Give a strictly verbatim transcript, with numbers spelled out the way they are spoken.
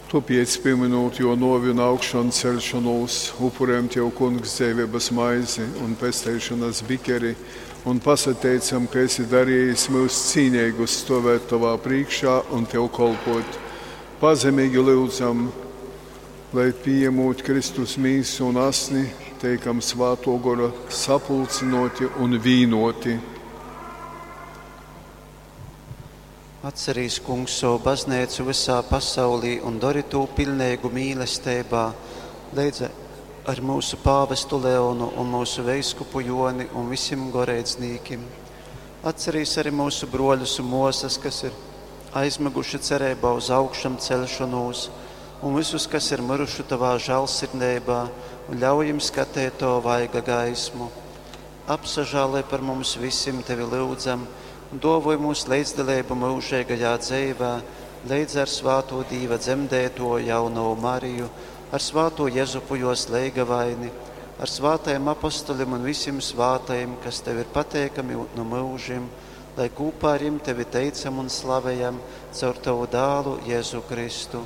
Tōpēc, pīmynūt Jō nōvi un augšanceļšonūs, upurejam Tev, Kungs, dzeiveibas maizi un pesteišonas bikeri un pasateicam, ka esi darejis myus cīneigus stōvēt Tovā prīškā un Tev kolpōt. Pazemeigi lyudzam, lai, pījemūt Kristus mīsu un asni, teikam Svātō Gora sapulcynōti un vīnōti. Atcerīs, Kungs, sovu bazneicu vysā pasaulī un dori tū piļneigu mīlesteibā, leidz ar mūsu pāvestu Leonu un mūsu veiskupu Joni un visim goreidznīkim. Atcerīs arī mūsu broļus un mosas, kas ir aizmiguši cereibā uz augšām celšanos, un visus, kas ir miruši tavā žēlsirdībā, un ļauj jim skatīt to vaiga gaismu. Apsažāloj par mums visiem, tevi lūdzam, un dāvoj mūs līdzdalību mūžīgajā dzīvē, līdz ar svāto Dīva dzemdēto jauno Mariju, ar svāto Jezupu jos leigavaini, ar svātajiem apostolim un visiem svātajiem, kas tev ir pateikami no mūžiem, lai kopā ar jim tevi teicam un slavējam caur tavu dālu Jēzu Kristu.